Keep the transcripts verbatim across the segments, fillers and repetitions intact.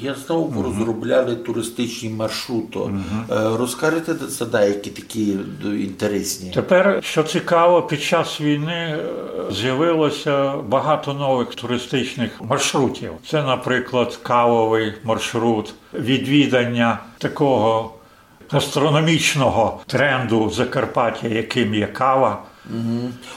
Я знав, розробляли туристичні маршруты. Е, розкажете за деякі такі д-, інтересні? Тепер, що цікаво, під час війни, е, з'явилося багато нових туристичних маршрутів. Це, наприклад, кавовий маршрут, відвідання такого гастрономічного тренду Закарпаття, яким є кава.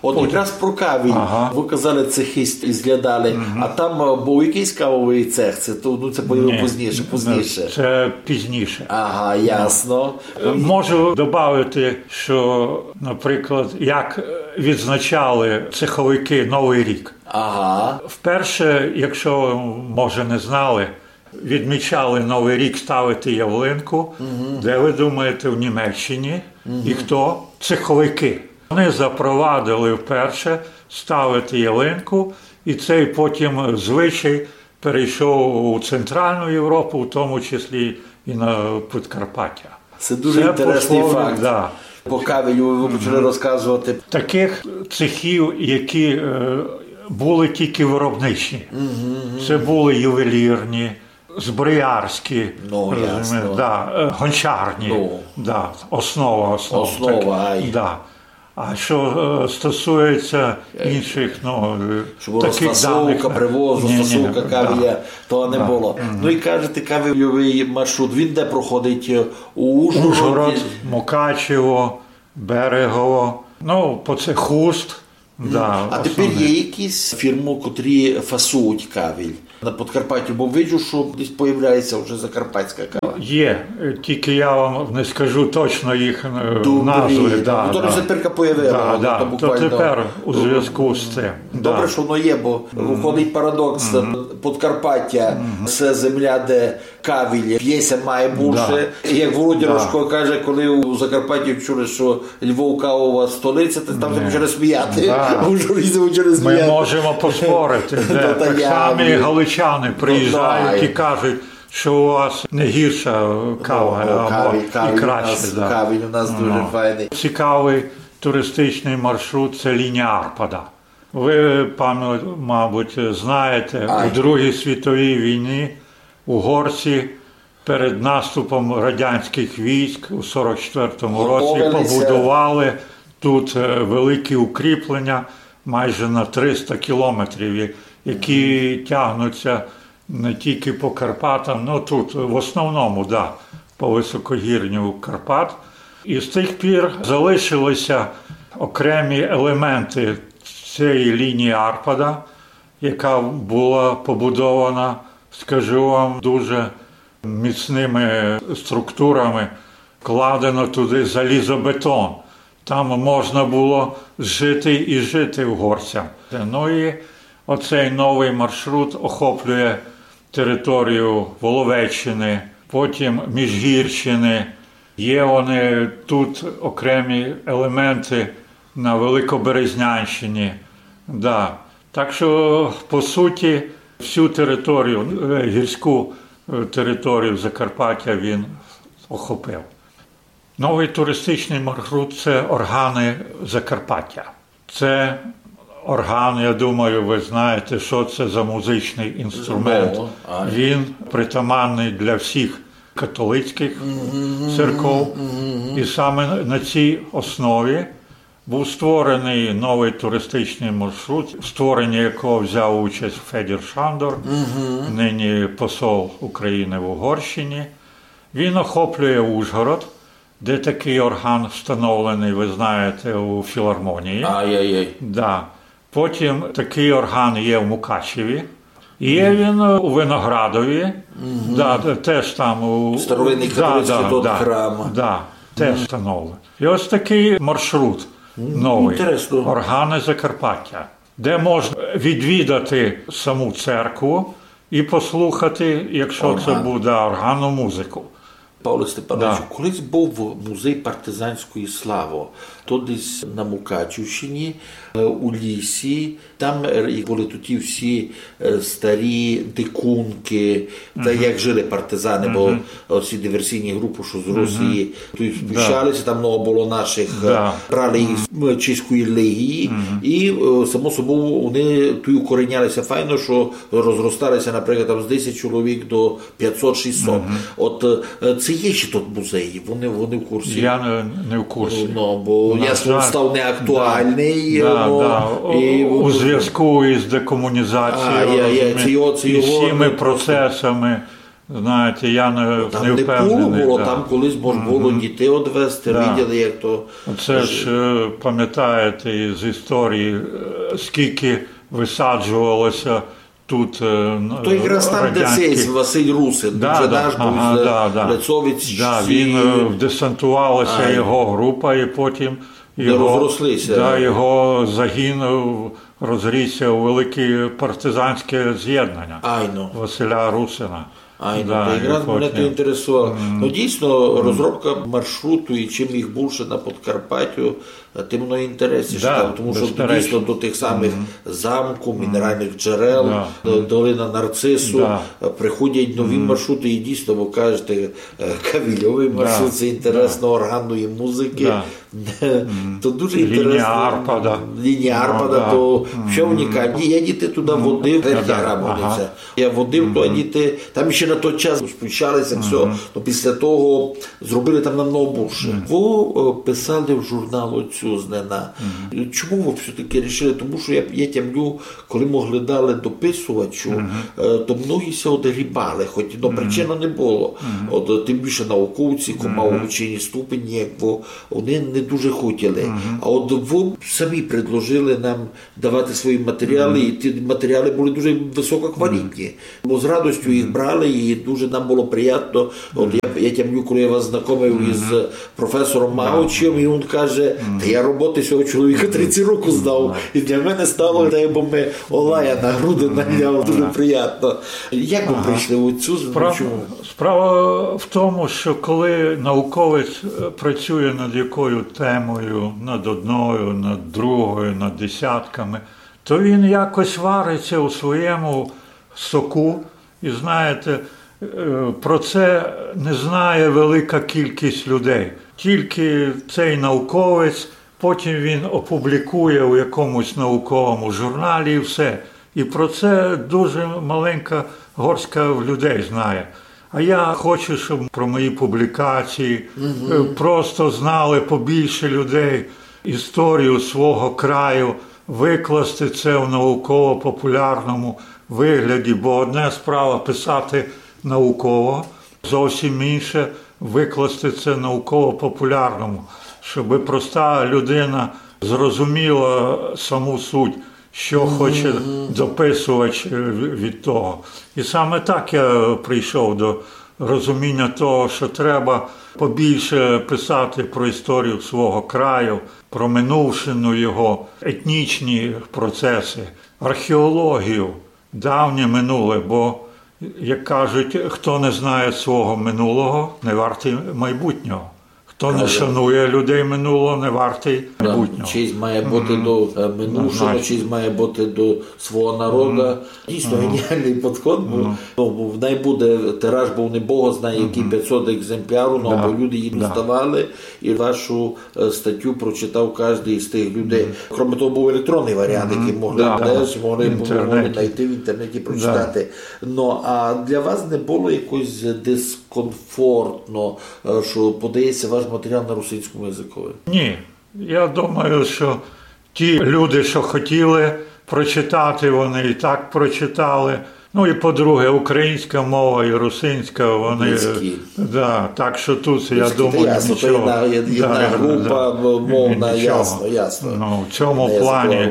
От якраз про Кавіль. Ага. Вы казали, цехи з-, зглядали. А там, е, быв якыйсь кавовый цех? Це то, ну, це появило пізніше, пізніше. Це пізніше. Ага, ясно. Е, можу добавити, що, наприклад, як, е, відзначали цеховики Новий рік. Ага. Вперше, якщо, може, не знали, відмічали Новий рік ставити ялинку. Де, ви думаєте, в Німеччині? І хто? Цеховики. Вони запровадили вперше ставити ялинку, і цей потім звичай перейшов у Центральну Європу, в тому числі і на Підкарпаття. Це дуже інтересный факт. Да. По Кавілю вы почали розказовати. Таких цехів, які, е, були тільки виробничі. Це були ювелірні, зброярські, ну, розумієш, ясно, да, е, гончарні. Ну. Да, основа, основа. Основа, так, ай. Да. А що, е, стосується інших, ну, е, щоб таких розфасовка, даних, привоз, ні, ні, розфасовка, да, Кавіля, то не було. Ну і кажете, Кавільовый маршрут, він де проходить? Е, у Ужгороді? Ужгород, Мукачево, Берегово, ну, по це Хуст. Да, а тепер є якісь фірмы, котрі фасують Кавіль на Подкарпатті? Бо виджу, що десь появляється вже закарпатська кава. Є, е, тільки я вам не скажу точно їх, е, назвы. Да, то вже тепер появило, да, то буквально тепер у зв'язку з цим. Добре, що воно є, бо виходить парадокс. Подкарпаття — це земля, де Кавіль пє ся має бульше. Да. І як Володя Рожко каже, коли у Закарпатті чули, що Львов — кавова столиця, то там вже почали сміяти. Да. У Ужгороді почали сміяти. Ми можемо поспорити. Ну, де. Так само і галичани приїжджають і кажуть, що у вас не гірша кава, а краще. Кавіль у нас, да. Кавіль у нас дуже файный. Цікавый туристичный маршрут — це лінія Арпада. Ви, пам'ят-, мабуть, знаєте, у Другій світовій війні угорці перед наступом радянських військ у сорок четвертому році побудували тут, е, великі укріплення майже на триста кілометрів, я-, які тягнуться не тільки по Карпатам, ну, тут в основному, да, по високогірню Карпат. І з тих пір залишилися окремі елементи цієї лінії Арпада, яка була побудована, скажу вам, дуже міцними структурами, вкладено туди залізобетон. Там можна було жити і жити угорцям. Ну і оцей новий маршрут охоплює територію Воловеччини, потім Міжгірщини. Є вони тут окремі елементи на Великоберезнянщині. Да. Так що, по суті, всю територію, е, гірську, е, територію Закарпаття він охопив. Новий туристичний маршрут — це органи Закарпаття. Це орган, я думаю, ви знаєте, що це за музичний інструмент. Ну, а. Він притаманний для всіх католицьких церков. І саме на цій основі був створений новий туристичний маршрут, в створенні якого взяв участь Федір Шандор, нині посол України в Угорщині. Він охоплює Ужгород, де такий орган встановлений, ви знаєте, у філармонії. Ай-яй-яй. Да. Потім такий орган є в Мукачеві. Є він у Виноградові. Да, те-, теж там у... Старовинний католицький тот храм. Да, теж встановлений. І ось такий маршрут новий. Інтересно. Органи Закарпаття, де можна відвідати саму церкву і послухати, якщо це буде, органну музику. Павле Степановичу, колись быв музей партизанської славы. То десь на Мукачівщині, е, у лісі. Там, е, і були туті всі, е, старі дикунки, та як жили партизани, бо оці диверсійні групы, што з Росії, туй спущали ся, там много было нашых, е, брали їх з, м, Чеської легії, і, е, само собою, вони туй укореняли ся файно, што розростали ся, наприклад, там з десять чоловік до пятсот-шістсот. От, е, ци є ще тут музеї? Вони, вони в курсі? Я не, не в курсі. Ну, бо ясно, він став неактуальный, да, ну, да. У, і у звязку із декомунізацією, розумієте, і всіми процесами, знаєте, я не, там не впевнений, було, да. Там колись мож було дітей одвезти, виділи, як то. Це ж, е, пам'ятаєте із історії, е, скільки висаджувалося тут, е, то якраз там, де радянські. Сей Василь Русин, да, він же наш був, ага, з, да, да. Лецовець. Да, він, е, десантувалася його група, і потім його, розрослися. Да, його загін, е, розрісся у велике партизанське з'єднання Василя Русина. Айно, да, то якраз мене то інтересувало. Ну, дійсно, розробка маршруту і чим їх більше на Подкарпаттю, тым воно інтересніше, да, там, тому що безперечно. Дійсно до тих самих замків, мінеральних джерел, да, до-, долина Нарцису, да, приходять нові маршрути, і дійсно, ви кажете, е, кавільовий маршрут, да, це інтересно, да, органної музики. Да. То дуже інтересно. Лінія Арпада. Лінія Арпада, да, то все унікальне. Я діти туди водив, Верхня Грабовниця. Ага. Я водив туди діти, там ще на той час спущалися, все. То після того зробили там намного більше. Вы, е, писали в журнал «Отцюзнина». Чому вы все-таки рішили? Тому що я, я тямлю, коли могли дали дописувачу, е, то многі ся одгрібали, хоч, ну, причини не було. От, е, тим більше науковці, ко мав учені ступені, як вы, вони не дуже хотіли. А от вы самі предложили нам давати свої матеріали, і ті матеріали були дуже висококвалітні. Бо з радостю їх брали, і дуже нам було приємно. От я, я тямлю, коли я вас знакомив із професором Маучем, і він каже: «Та я роботы сього чоловіка тридцять років знав, і для мене стало, дай бы ми Олая на груди наняв». Дуже приємно. Як вы прийшли в цю... Справа, справа в тому, що коли науковець, е, працює над якою темою, над одною, над другою, над десятками, то він якось вариться у своєму соку. І знаєте, е, про це не знає велика кількість людей. Тільки цей науковець, потім він опублікує у якомусь науковому журналі і все. І про це дуже маленька горстка людей знає. А я хочу, щоб про мої публікації, е, просто знали побільше людей історію свого краю, викласти це в науково-популярному вигляді, бо одне справа писати науково, зовсім інше викласти це науково-популярному, щоб проста людина зрозуміла саму суть, що хоче дописувач, е, в-, від того. І саме так я прийшов до розуміння того, що треба побільше писати про історію свого краю, про минувшину його, етнічні процеси, археологію, давнє минуле, бо, як кажуть, хто не знає свого минулого, не вартий майбутнього. Хто не шанує людей минулого, не вартий майбутнього. Честь має бути до, е, минувшого, честь має бути до свого народу. Дійсно геніальний підход, бо, ну, бо най буде тираж, бо не Бог знає, які пятсот екземплярів, ну, або люди її доставали, і вашу, е, статтю прочитав кожен із тих людей. Кроме того, був електронний варіант, який могли, да, десь могли, могли знайти в інтернеті, прочитати. Ну, а для вас не було якось дискомфортно, е, що подається ваш матеріал на російському язикові? Ні. Я думаю, що ті люди, що хотіли прочитати, вони і так прочитали. Ну і по-друге, українська мова і русинська, вони... Близькі. Да, так що тут, я думаю, нічого. Близькі, та ясно, то єдна, єдна група мовна, ясно, ясно. Ну, в цьому плані,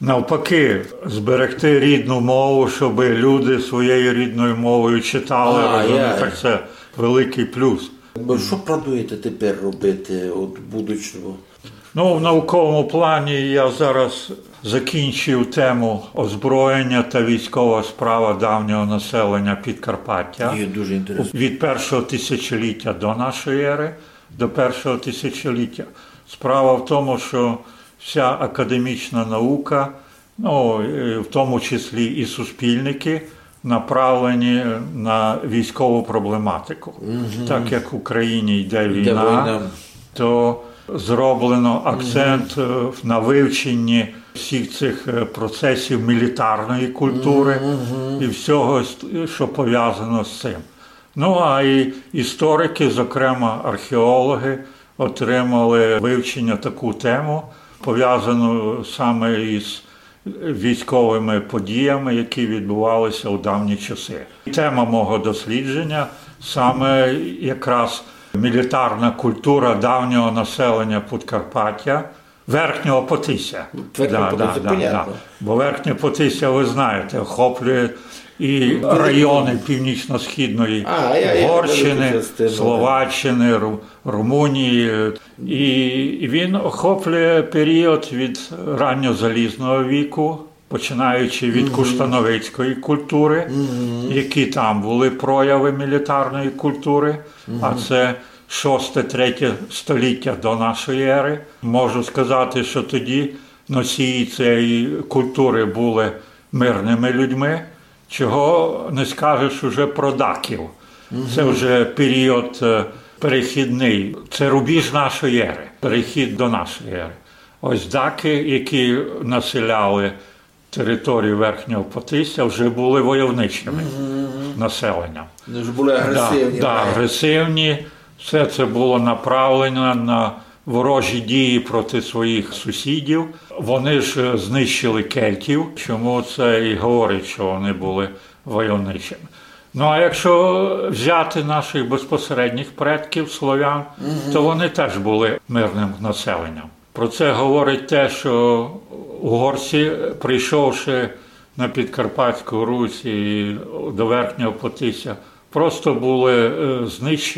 навпаки, зберегти рідну мову, щоб люди своєю рідною мовою читали, розумієте, так це великий плюс. Бо що плануєте тепер робити, от, в будущому? Ну, в науковому плані я зараз закінчив тему озброєння та військова справа давнього населення Підкарпаття. Є, дуже інтересно. Від першого тисячоліття до нашої ери до першого тисячоліття. Справа в тому, що вся академічна наука, ну, е, в тому числі і суспільники, направлені на військову проблематику. Так як в Україні йде війна, то зроблено акцент е, на вивченні всіх цих е, процесів мілітарної культури і всього, що пов'язано з цим. Ну, а і історики, зокрема археологи, отримали вивчення таку тему, пов'язану саме із військовими подіями, які відбувалися у давні часи. Тема мого дослідження саме якраз мілітарна культура давнього населення Подкарпаття, Верхнього Потися. Верхнє Потися, понятно. Бо Верхнє Потися, ви знаєте, охоплює і райони північно-східної Угорщини, Словаччини, Ру- Румунії. І він охоплює період від ранньозалізного віку, починаючи від куштановицької культури, які там були прояви мілітарної культури, а це шосте-третє століття до нашої ери. Можу сказати, що тоді носії цієї культури були мирними людьми, чого не скажеш уже про даків. Це вже період е, перехідний, це рубіж нашої ери, перехід до нашої ери. Ось даки, які населяли територію Верхнього Потися, вже були войовничими населенням. Вони вже були агресивні. Да, агресивні. Все це було направлено на ворожі дії проти своїх сусідів. Вони ж е, знищили кельтів, чому це і говорить, що вони були войовничими. Ну а якщо взяти наших безпосередніх предків слов'ян, то вони теж були мирним населенням. Про це говорить те, що угорці, прийшовши на Підкарпатську Русь і до Верхнього Потися, просто були е, знищені.